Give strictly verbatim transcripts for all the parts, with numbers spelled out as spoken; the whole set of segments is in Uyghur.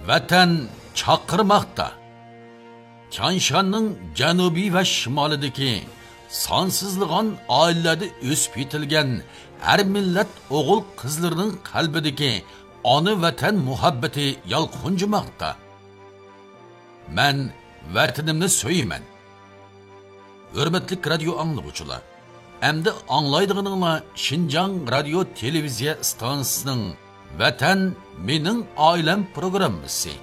ۋەتەن چاقىرماقتا. تيانشاننىڭ جەنۇبى ۋە شىمالىدىكى سانسىزلىغان ئائىلىلەردە ئۆسۈپ يېتىلگەن ھەر مىللەت ئوغۇل-قىزلىرىنىڭ قەلبىدىكى ئانا ۋەتەن مۇھەببىتى يالقۇنجىماقتا. مەن ۋەتىنىمنى سۆيىمەن. ھۆرمەتلىك رادىيو ئاڭلىغۇچىلار، ئەمدى ئاڭلايدىغىنىڭلار شىنجاڭ رادىيو تېلېۋىزىيە ئىستانسىسىنىڭ ۋەتەن مېنىڭ ئائىلەم پروگراممىسى.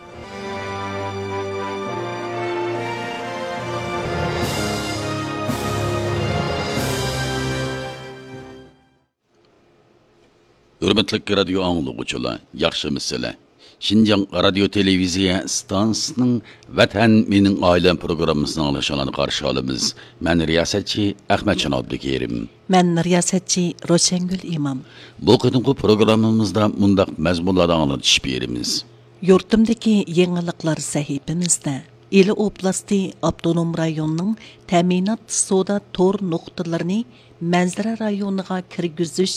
ھۆرمەتلىك رادىيو ئاڭلىغۇچىلار، ياخشىمۇسىلەر؟ شىنجاڭ رادىيو تېلېۋىزىيە ئىستانسىسىنىڭ ۋەتەن مېنىڭ ئائىلەم پروگراممىسىنى ئاڭلىشىڭلارنى قارشى ئالىمىز. مەن رىياسەتچى ئەخمەتجان ئابدۇكېرىم. مەن رىياسەتچى روشەنگۈل ئىمام. بۇ قېتىمقى پروگراممىمىزدا مۇنداق مەزمۇنلاردا ئاڭلىتىش بېرىمىز. يۇرتۇمدىكى يېڭىلىقلار سەھىپىمىزدە ئىلى ئوبلاستى ئاپتونوم رايونىنىڭ تەمىنات سودا تور نۇقتىلىرىنى مەنزىرە رايونىغا كىرگۈزۈش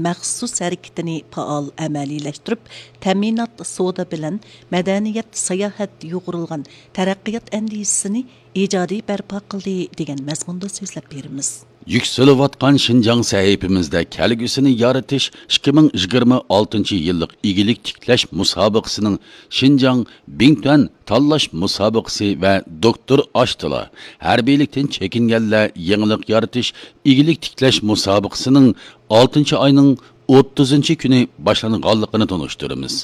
مەخسۇس ھەرىكىتىنى پائال ئەمەلىيلەشتۈرۈپ، تەمىنات سودا بىلەن مەدەنىيەت، ساياھەت يۇغۇرۇلغان تەرەققىيات ئەندىزىسىنى ئىجادىي بەرپا قىلدى، دېگەن مەزمۇندا سۆزلەپ بېرىمىز. يۈكسىلىۋاتقان شىنجاڭ سەھىپىمىزدە كەلگۈسىنى يارىتىش ئىككى مىڭ يىگىرمە ئالتىنچى يىللىق ئىگىلىك تىكلەش مۇسابىقىسىنىڭ شىنجاڭ بىڭتۈەن تاللاش مۇسابىقىسى ۋە دوكتور ئاشتىلا ھەربىيلىكتىن چېكىنگەنلەر يېڭىلىق يارىتىش ئىگىلىك تىكلەش مۇسابىقىسىنىڭ ئالتىنچى ئاينىڭ ئوتتۇزىنچى كۈنى باشلانغانلىقىنى تونۇشتۇرىمىز.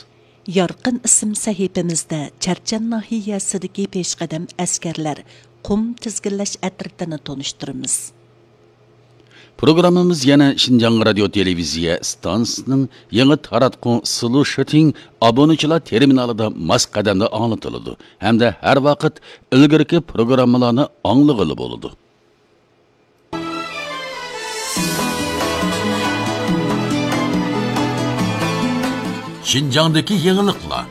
يارقىن ئىسىم سەھىپىمىزدە چەرچەن ناھىيەسىدىكى پېشقەدەم ئەسكەرلەر قۇم تىزگىنلەش ئەترىتىنى تونۇشتۇرىمىز. پروگراممىمىز يەنە شىنجاڭ رادىيو تېلېۋىزىيە ئىستانسىسىنىڭ يېڭى تاراتقۇ سلۇشىتىڭ ئابۇنىچىلار تېرمىنالىدا ماس قەدەمدە ئاڭلىتىلىدۇ ھەمدە ھەر ۋاقىت ئىلگىرىكى پروگراممىلارنى ئاڭلىغىلى بولىدۇ. شىنجاڭدىكى يېڭىلىقلار.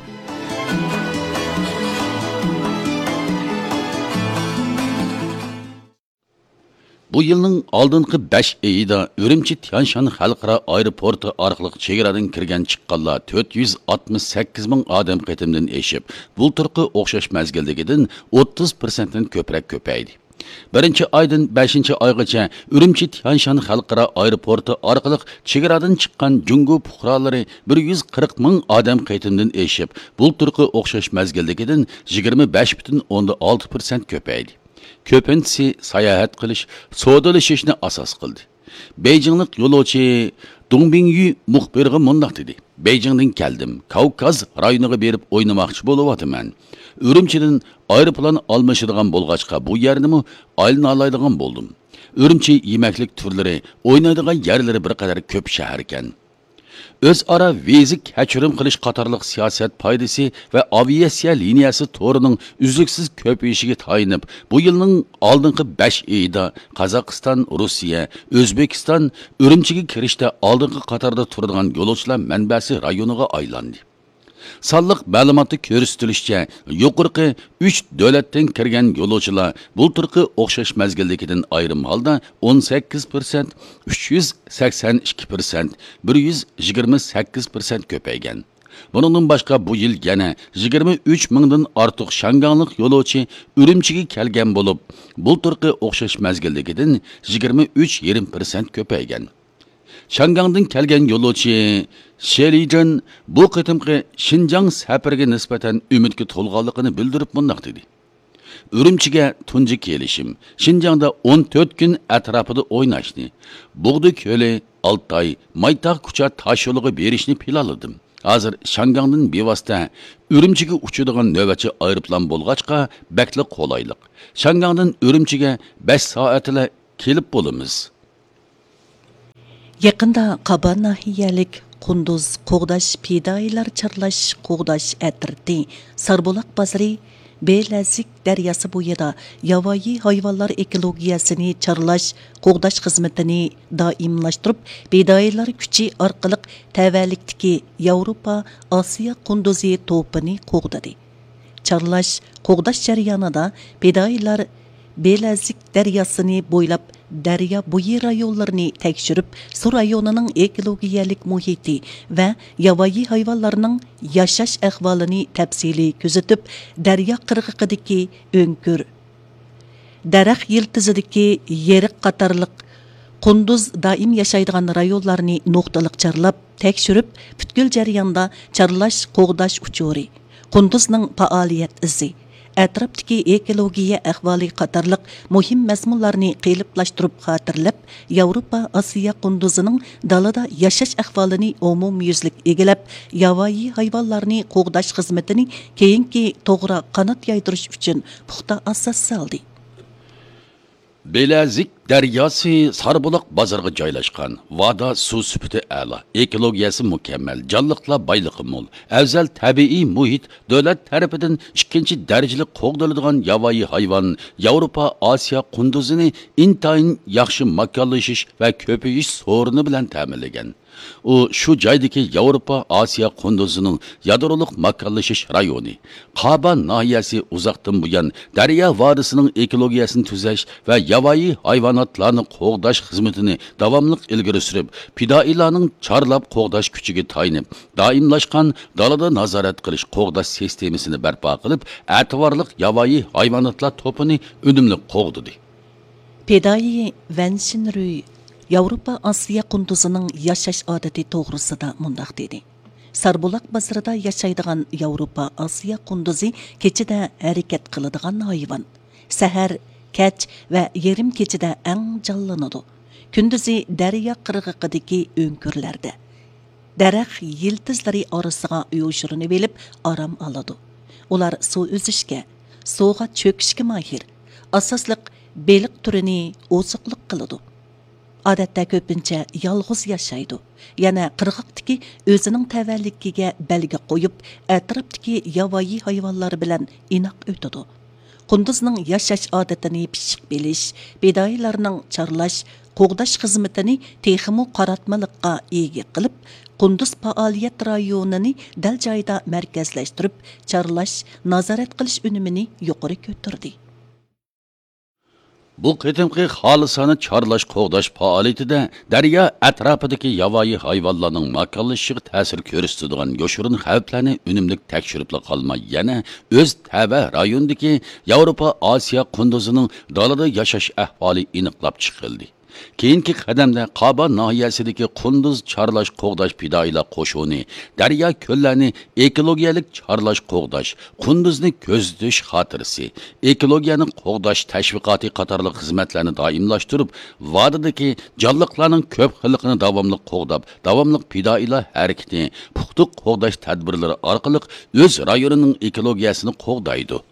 بۇ يىلنىڭ ئالدىنقى بەش ئېيىدا ئۈرۈمچى تيانشان خەلقئارا ئايروپورتى ئارقىلىق چېگرادىن كىرگەن چىققانلار تۆت يۈز ئاتمىش سەككىز مىڭ ئادەم قېتىمدىن ئېشىپ، بۇلتۇرقى ئوخشاش مەزگىلدىكىدىن ئوتتۇز پىرسەنتتىن كۆپرەك كۆپەيدى. بىرىنچى ئايدىن بەشىنچى ئايغىچە ئۈرۈمچى تيانشان خەلقئارا ئايروپورتى ئارقىلىق چېگرادىن چىققان جۇڭگو پۇقرالىرى بىر يۈز قىرىق مىڭ ئادەم قېتىمدىن ئېشىپ، بۇلتۇرقى ئوخشاش مەزگىلدىكىدىن يىگىرمە بەش پۈتۈن ئوندىن ئالتە پىرسەنت كۆپەيدى. كۆپىنچىسى ساياھەت قىلىش، سودىلىشىشنى ئاساس قىلدى. بېيجىڭلىق يولۇچى دۇڭ بىڭيۈ مۇخبىرغا مۇنداق دېدى: بېيجىڭدىن كەلدىم، كاۋكاز رايونىغا بېرىپ ئوينىماقچى بولۇۋاتىمەن. ئۈرۈمچىدىن ئايروپىلان ئالمىشىدىغان بولغاچقا، بۇ يەرنىمۇ ئايلىنالايدىغان بولدۇم. ئۈرۈمچى يېمەكلىك تۈرلىرى، ئوينايدىغان يەرلىرى بىر قەدەر كۆپ شەھەركەن. ئۆزئارا ۋىزا كەچۈرۈم قىلىش قاتارلىق سىياسەت پايدىسى ۋە ئاۋىئاتسىيە لىنىيەسى تورىنىڭ ئۈزلۈكسىز كۆپىيىشىگە تايىنىپ، بۇ يىلنىڭ ئالدىنقى بەش ئېيىدا قازاقىستان، روسىيە، ئۆزبېكىستان ئۈرۈمچىگە كىرىشتە ئالدىنقى قاتاردا تۇرىدىغان يولۇچىلار مەنبەسى رايونىغا ئايلاندى. سانلىق مەلۇماتتا كۆرسىتىلىشىچە، يۇقىرىقى ئۈچ دۆلەتتىن كىرگەن يولۇچىلار بۇلتۇرقى ئوخشاش مەزگىلدىكىدىن ئايرىم ھالدا ئون سەككىز پىرسەنت، ئۈچ يۈز سەكسەن ئىككى پىرسەنت، بىر يۈز يىگىرمە سەككىز پىرسەنت كۆپەيگەن. بۇنىڭدىن باشقا، بۇ يىل يەنە يىگىرمە ئۈچ مىڭدىن ئارتۇق شياڭگاڭلىق يولۇچى ئۈرۈمچىگە كەلگەن بولۇپ، بۇلتۇرقى ئوخشاش مەزگىلدىكىدىن يىگىرمە ئۈچ يېرىم پىرسەنت كۆپەيگەن. شياڭگاڭدىن كەلگەن يولۇچى شې لىجېن بۇ قېتىمقى شىنجاڭ سەپىرىگە نىسبەتەن ئۈمىدكە تولغانلىقىنى بىلدۈرۈپ مۇنداق دېدى: ئۈرۈمچىگە تۇنجى كېلىشىم، شىنجاڭدا ئون تۆت كۈن ئەتراپىدا ئويناشنى، بۇغدا كۆلى، ئالتاي، مايتاغ كۇچا تاشيولىغا بېرىشنى پىلانلىدىم. ھازىر شياڭگاڭدىن بىۋاسىتە ئۈرۈمچىگە ئۇچىدىغان نۆۋەتچى ئايروپىلان بولغاچقا، بەكلا قولايلىق. شياڭگاڭدىن ئۈرۈمچىگە بەش سائەتتىلا كېلىپ بولىمىز. يېقىندا قابا ناھىيەلىك قۇندۇز قوغداش پىدائىيلار چارلاش قوغداش ئەترىتى ساربۇلاق بازىرى بېلەزىك دەرياسى بويىدا ياۋايى ھايۋانلار ئېكولوگىيەسىنى چارلاش قوغداش خىزمىتىنى دائىملاشتۇرۇپ، پىدائىيلار كۈچى ئارقىلىق تەۋەلىكتىكى ياۋروپا ئاسىيا قۇندۇزى توپىنى قوغدىدى. چارلاش، قوغداش جەريانىدا پىدائىيلار بېلەزىك دەرياسىنى بويلاپ دەريا بويى رايونلىرىنى تەكشۈرۈپ، سۇ رايونىنىڭ ئېكولوگىيەلىك مۇھىتى ۋە ياۋايى ھايۋانلارنىڭ ياشاش ئەھۋالىنى تەپسىلىي كۆزىتىپ، دەريا قىرغىقىدىكى ئۆڭكۈر، دەرەخ يىلتىزىدىكى يېرىق قاتارلىق قۇندۇز دائىم ياشايدىغان رايونلارنى نۇقتىلىق چارلاپ، تەكشۈرۈپ، پۈتكۈل جەرياندا چارلاش، قوغداش ئۇچۇرى، قۇندۇزنىڭ پائالىيەت ئىزى، ئەتراپتىكى ئېكولوگىيە ئەھۋالى قاتارلىق مۇھىم مەزمۇنلارنى قېلىپلاشتۇرۇپ خاتىرىلەپ، ياۋروپا ئاسىيا قۇندۇزىنىڭ دالىدا ياشاش ئەھۋالىنى ئومۇميۈزلۈك ئىگىلەپ، ياۋايى ھايۋانلارنى قوغداش خىزمىتىنى كېيىنكى توغرا قانات يايدۇرۇش ئۈچۈن پۇختا ئاساس سالدى. بېلەزىك دەرياسى ساربۇلاق بازىرىغا جايلاشقان. ۋادا سۇ سۈپىتى ئەلا، ئېكولوگىيەسى مۇكەممەل، جانلىقلار بايلىقى مول، ئەۋزەل تەبىئىي مۇھىت، دۆلەت تەرىپىدىن ئىككىنچى دەرىجىلىك قوغدىلىدىغان ياۋايى ھايۋان، ياۋروپا ئاسىيا قۇندۇزىنى ئىنتايىن ياخشى ماكانلىشىش ۋە كۆپىيىش سورۇنى بىلەن تەمىنلىگەن. ئۇ شۇ جايدىكى ياۋروپا ئاسىيا قۇندۇزىنىڭ يادرولۇق ماكانلىشىش رايونى، قابا ناھىيەسى ئۇزاقتىن بۇيان دەريا ۋادىسىنىڭ ئېكولوگىيەسىنى تۈزەش ۋە ياۋايى ھايۋاناتلارنى قوغداش خىزمىتىنى داۋاملىق ئىلگىرى سۈرۈپ، پىدائىيلارنىڭ چارلاپ قوغداش كۈچىگە تايىنىپ، دائىملاشقان دالىدا نازارەت قىلىش، قوغداش سىستېمىسىنى بەرپا قىلىپ، ئەتىۋارلىق ياۋايى ھايۋاناتلار توپىنى ئۈنۈملۈك قوغدىدى. پىدائىي ۋەن شىنرۈي ياۋروپا ئاسىيا قۇندۇزىنىڭ ياشاش ئادىتى توغرىسىدا مۇنداق دېدى: ساربۇلاق بازىرىدا ياشايدىغان ياۋروپا ئاسىيا قۇندۇزى كېچىدە ھەرىكەت قىلىدىغان ھايۋان. سەھەر، كەچ ۋە يېرىم كېچىدە ئەڭ جانلىنىدۇ. كۈندۈزى دەريا قىرغىقىدىكى ئۆڭكۈرلەردە، دەرەخ يىلتىزلىرى ئارىسىغا يوشۇرۇنۇۋېلىپ ئارام ئالىدۇ. ئۇلار سۇ ئۈزۈشكە، سۇغا چۆكۈشكە ماھىر. ئاساسلىق بېلىق تۈرىنى ئوزۇقلۇق قىلىدۇ. ئادەتتە كۆپىنچە يالغۇز ياشايدۇ. يەنە قىرغاقتىكى ئۆزىنىڭ تەۋەلىكىگە بەلگە قويۇپ، ئەتراپتىكى ياۋايى ھايۋانلار بىلەن ئىناق ئۆتىدۇ. قۇندۇزنىڭ ياشاش ئادىتىنى پىششىق بىلىش، پىدائىيلارنىڭ چارلاش، قوغداش خىزمىتىنى تېخىمۇ قاراتمىلىققا ئىگە قىلىپ، قۇندۇز پائالىيەت رايونىنى دەل جايىدا مەركەزلەشتۈرۈپ، چارلاش، نازارەت قىلىش ئۈنۈمىنى يۇقىرى كۆتۈردى. بۇ قېتىمقى خالىسانە چارلاش قوغداش پائالىيىتىدە دەريا ئەتراپىدىكى ياۋايى ھايۋانلارنىڭ ماكانلىشىشىغا تەسىر كۆرسىتىدىغان يوشۇرۇن خەۋپلەرنى ئۈنۈملۈك تەكشۈرۈپلا قالماي، يەنە ئۆز تەۋە رايونىدىكى ياۋروپا ئاسىيا قۇندۇزىنىڭ دالىدا ياشاش ئەھۋالى ئېنىقلاپ چىقىلدى. كېيىنكى قەدەمدە قابا ناھىيەسىدىكى قۇندۇز چارلاش قوغداش پىدائىيلار قوشۇنى دەريا كۆللەرنى ئېكولوگىيەلىك چارلاش قوغداش، قۇندۇزنى كۆزىتىش خاتىرىسى، ئېكولوگىيەنى قوغداش تەشۋىقاتى قاتارلىق خىزمەتلەرنى دائىملاشتۇرۇپ، ۋادىدىكى جانلىقلارنىڭ كۆپ خىللىقىنى داۋاملىق قوغداپ، داۋاملىق پىدائىيلار ھەرىكىتى، پۇختە قوغداش تەدبىرلىرى ئارقىلىق ئۆز رايونىنىڭ ئېكولوگىيەسىنى قوغدايدۇ.